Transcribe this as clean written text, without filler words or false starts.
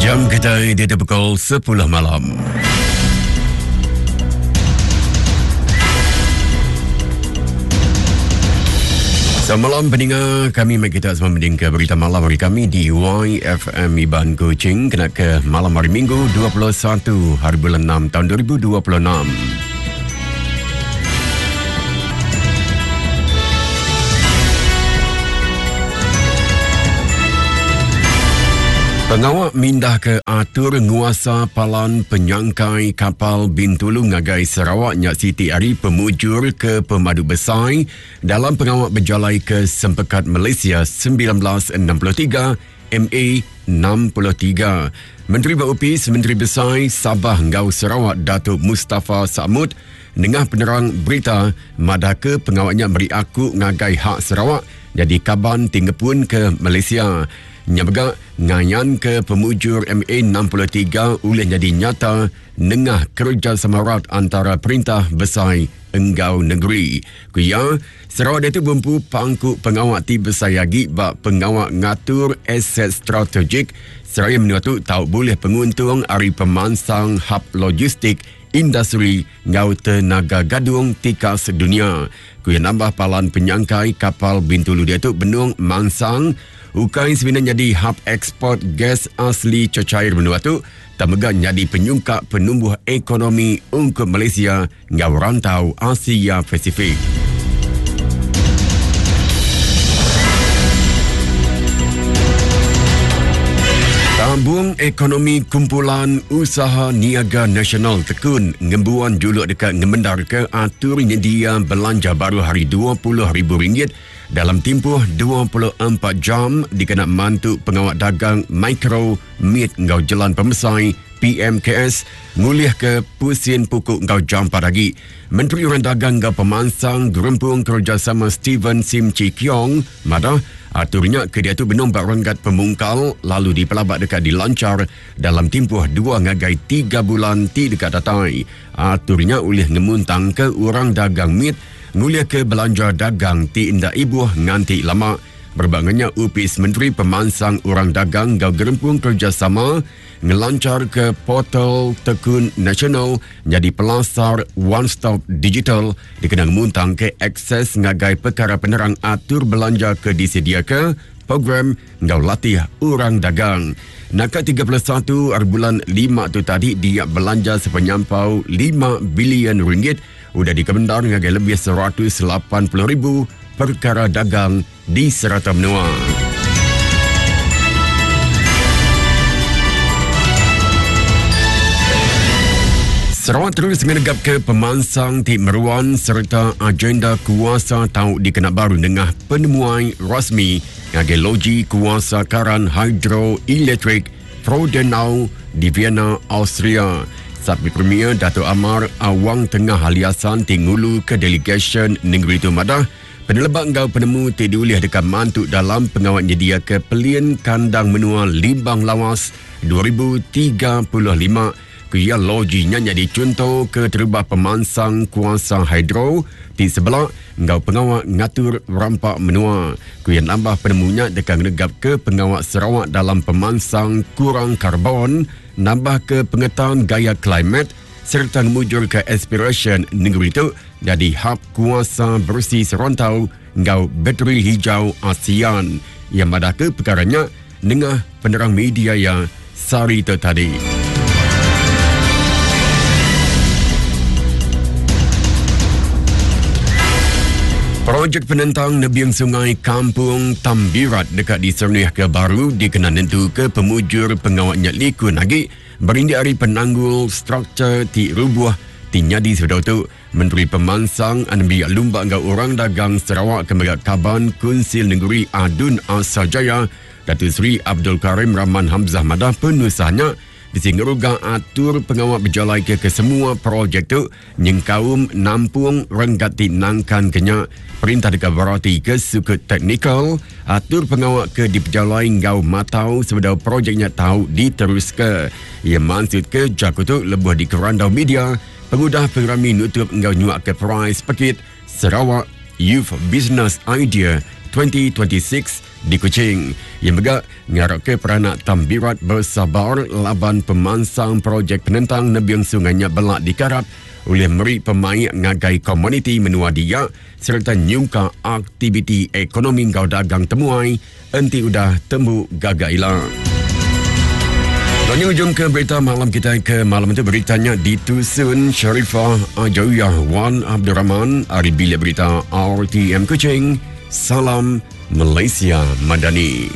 Jam kita di pukul 10 malam. Semalam peninga kami mai kita semua mending ke berita malam hari kami di YFM Iban Kuching kena ke malam hari Minggu 21 hari bulan 6 tahun 2026. Pengawa mindah ke atur nguasa palan penyangkai kapal Bintulu ngagai Sarawak nya siti ari pemujur ke pemadu besai dalam pengawa bejalai ke Sempekat Malaysia 1963 MA 63. Menteri ba Opis Menteri Besai Sabah enggau Sarawak Datuk Mustapha Sakmud nengah penerang berita madahka pengawa nya meri aku ngagai hak Sarawak nyadi kaban ti ngepunka Malaysia. Nya mega ngayanka pemujur MA 63 ulih nyadi nyata nengah kerejasama rat antara perintah besai enggau negeri. Ku iya, Sarawak diatu bempu pangku pengawa ti besai agi ba pengawa ngatur aset strategik seraya menua tu tau bulih penguntung ari pemansang hab logistik industri enggau tenaga gadung tikas dunya. Ku iya nambah palan penyangkai kapal Bintulu diatu benung mansang ukai semina nyadi hab eksport gas asli cecair menua tu tang mega nyadi penyungkak penumbuh ekonomi ungkup Malaysia enggau rantau Asia Pasifik. Tabung Ekonomi Kumpulan Usaha Niaga Nasional Tekun ngembuan juluk deka ngemendarka atur nyendia belanja baru hari RM20,000 dalam timpuh 24 jam dikena mantu pengawa dagang mikro, mit enggau jelan pemesai PMKS ngulihka pusin puku enggau jampat agi. Menteri Orang Dagang enggau Pemansang Gerempung Kerejasama Steven Sim Chee Keong madah atur nya ke diatu benung ba renggat pemungkal lalu dipelaba deka dilanchar dalam timpuh dua ngagai tiga bulan ti deka datai. Atur nya ulih ngemuntangka orang dagang mit ngulihka belanja dagang ti enda ibuh nganti lama. Berebak enggau nya, Opis Menteri Pemansang Orang Dagang enggau Gerempung Kerejasama ngelancharka Portal Tekun Nasional nyadi pelasar one stop digital dikena ngemuntangka akses ngagai pekara penerang atur belanja ke disediaka program enggau latih orang dagang. Naka 31 ari bulan lima tu tadi dia belanja sepenyampau lima bilion ringgit udah dikemendar ngagai lebih 180,000 perkara dagang di serata menua. Sarawak terus ngenegapka pemansang ti meruan sereta agenda kuasa tau dikena baru nengah penemuai rasmi ngagai Loji Kuasa Karan Hidroelektrik Frodenau di Vienna, Austria. Sapit Premier Datuk Amar Awang Tengah Ali Hasan ti nguluka delegasyen nengeri tu madah, Peneleba enggau penemu ti diulih deka mantu dalam pengawa nyediaka Pelin Kandang Menua Limbang Lawas 2035, ku iya loji nya nyadi chunto keterubah pemansang kuasa hidro ti sebela enggau pengawa ngatur rampa menua. Ku iya nambah penemu nya deka ngenegapka pengawa Sarawak dalam pemansang kurang karbon, nambahka pengetan gaya klimet, sereta ngemujurka aspirasyen nengeri tu nyadi hab kuasa beresi serantau enggau bateri hijau ASEAN. Iya madahka pekara nya nengah penerang media iya sehari tu tadi. Projek penentang nebing sungai Kampung Tambirat deka diserenihka baru dikena nentuka pemujur pengawa nya likun agi Berindik ari penanggul struktur ti rubuh ti nyadi sebedau tu, Menteri Pemansang Anembiak Lumba enggau Orang Dagang Sarawak ke mega Kaban Kunsil Nengeri ADUN Asajaya, Datuk Seri Abdul Karim Rahman Hamzah madah penusah nya bisi ngeruga atur pengawa bejalaika kesemua projek tu nyengkaum nampung renggat ti nangkanka nya. Perintah deka beratika sukut teknikal atur pengawa ke dipejalai enggau matau sebedau projek nya tau diteruska. Iya mansutka jaku tu lebuh dikerandau media pengudah pengerami nutup enggau nyuaka perais pekit Sarawak Youth Business Idea. 2026 di Kuching. Iya mega ngarapka peranak Tambirat besabar laban pemansang projek penentang nebing sungai nya bela dikarap ulih meri pemaik ngagai komuniti menua dia sereta nyungkak aktiviti ekonomi enggau dagang temuai enti udah tembu gaga ila. Lalu ujung ke berita malam kita ke malam itu beritanya ditusun Sharifah Ajawiyah Wan Abdul Rahman ari Bilik Berita RTM Kuching. Salam Malaysia Madani.